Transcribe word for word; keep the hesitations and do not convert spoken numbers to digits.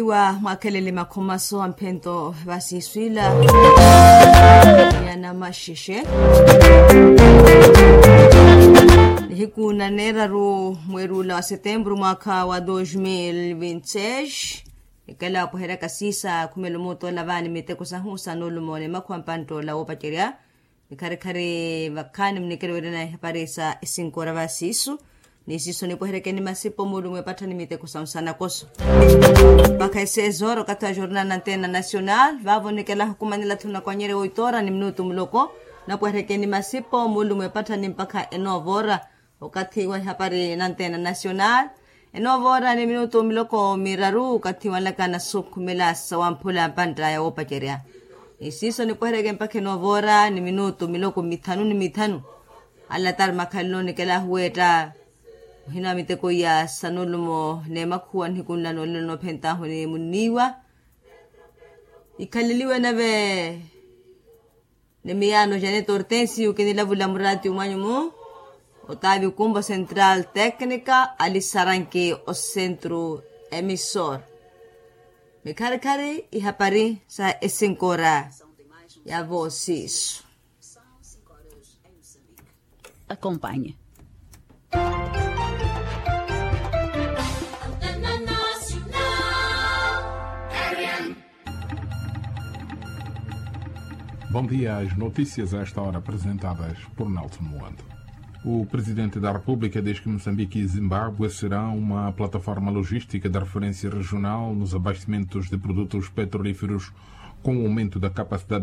Wa mwakhelele makhomaso a mphento vasiiswila. Nyana maxexe. Nihiku na neeraru mweeri ula wa setemburu mwaakha wa dos mil vinti seis. Nikela wapoheryaka siisa khumela omuutola vaani miteko sahu sa nuulumo ni makhuwa mpanttoola woopacerya. Nikharikhari vakhaani munikelo weerena ihapari sa esinkora va siisu. Ni siisu nipweherekeni masipo muulumo epattha ni miteko sa nsanakoso. Mpakha esezoro okathi wa jornal na antena nacional vaavo nikela hukumanela thuna kwanyerya woitoora ni minutu muloko. Napweherekeni masipo muulumo epattha ni mpakha enoovora. Okathi wa ihapari na antena nacional. Enoovora ni minutu miloko miraru okathi wanlaka na sukhumela sawamphula mpanttaya woopacerya. Ni siiso nipwehereke mpakha enoovora ni minutu miloko mithanu ni mithanu. Alatari makhalelo nikela ahuweetta. Muhina wa miteko iya sa nuulumo n'emakhuwa nihiku nla noolelo noophentahu ni munniiwa. Ikhaleliwe nave ni miyaano janet hortensio kinilavula muraati omwanyu-mu. Otaavi kumbo central técnica alisaranki o centro emissor. Mikharikhari ihapari sa esinkora ya voosiisu. Acompanhe. Bom dia, as notícias a esta hora apresentadas por Nelson Moando. O Presidente da República diz que Moçambique e Zimbábue serão uma plataforma logística de referência regional nos abastecimentos de produtos petrolíferos, com o aumento da capacidade